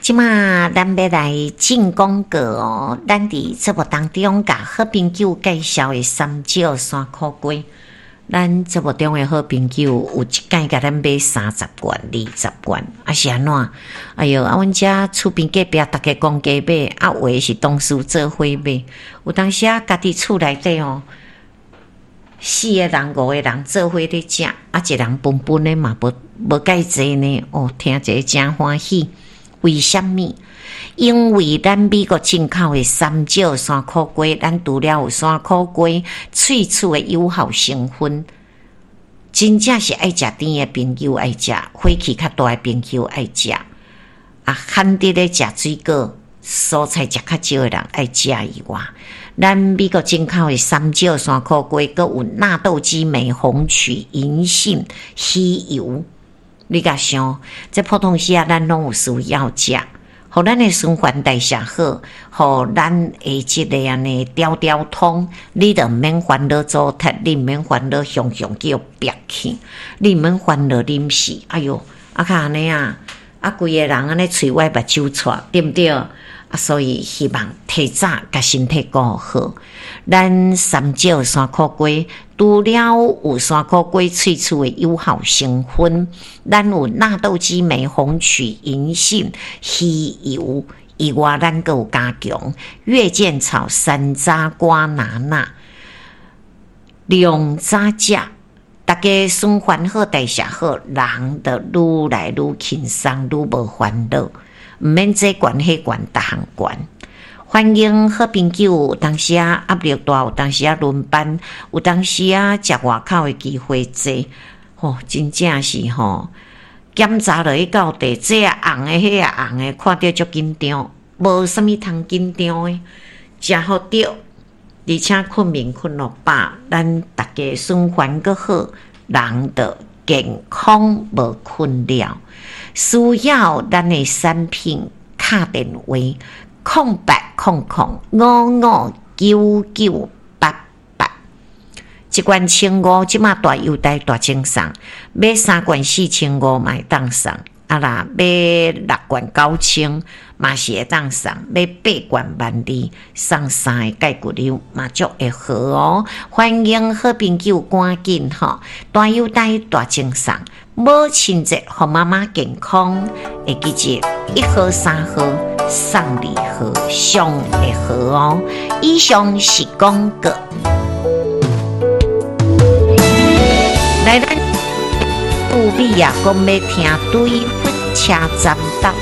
這馬咱欲來進廣告哦，咱佇節目當中共好朋友介紹的三石山苦瓜，咱節目中的好朋友有一擺共咱買30罐、20罐，啊是按怎？哎喲，啊阮遮厝邊隔壁逐家公家買，啊有的是同事做伙買，有當時啊家己厝內底哦，四個人、五個人做伙咧食，啊一人分分的嘛無無蓋濟呢，哦，聽者誠歡喜。為啥物？因為咱美國進口的三石山苦瓜，咱除了有山苦瓜萃取的有效成分，真正是愛食甜的朋友愛食，火氣較大的朋友愛食，啊，罕得咧食水果、蔬菜食較少的人愛食以外，咱美國進口的三石山苦瓜，閣有納豆激酶、紅曲、銀杏、魚油。你共想，這普通時啊，咱攏有需要食，予咱的循環代謝好，予咱的這个按呢條條通，你就毋免煩惱阻塞，你毋免煩惱雄雄叫憋氣，你毋免煩惱啉死。哎喲，啊較按呢啊，啊規个人按呢喙歪目睭掣，對毋對？啊，所以希望提早共身體顧好。咱三石山苦瓜除了有山苦瓜萃取的有效成分，咱有納豆激酶、紅曲、銀杏、魚油以外，咱閣有加強月見草、山楂、瓜拿納，兩早食，逐家循環好、代謝好，人就愈來愈輕鬆，愈無煩惱，毋免這懸彼懸，逐項懸。歡迎好朋友，有當時啊壓力大，有當時啊輪班，有當時啊食外口的機會濟，吼，真正是吼，檢查落去到底，這也紅的，彼也紅的，看著足緊張，無啥物通緊張的，食予著，而且睏眠睏予飽，咱逐家循環閣好，人就健康無困擾。需要咱的產品，敲電話0800559988，一罐千五，這馬大優待大贈送，買三罐4500嘛會當送，啊若買六罐9000嘛是會當送，買八罐12,000送三个鈣骨溜嘛足會好哦。歡迎好朋友趕緊吼，大優待大贈送，母親節予媽媽健康，會記住一號三號送二號上會好哦。以上是廣告。來，咱杜比亞講欲聽對粉車站搭。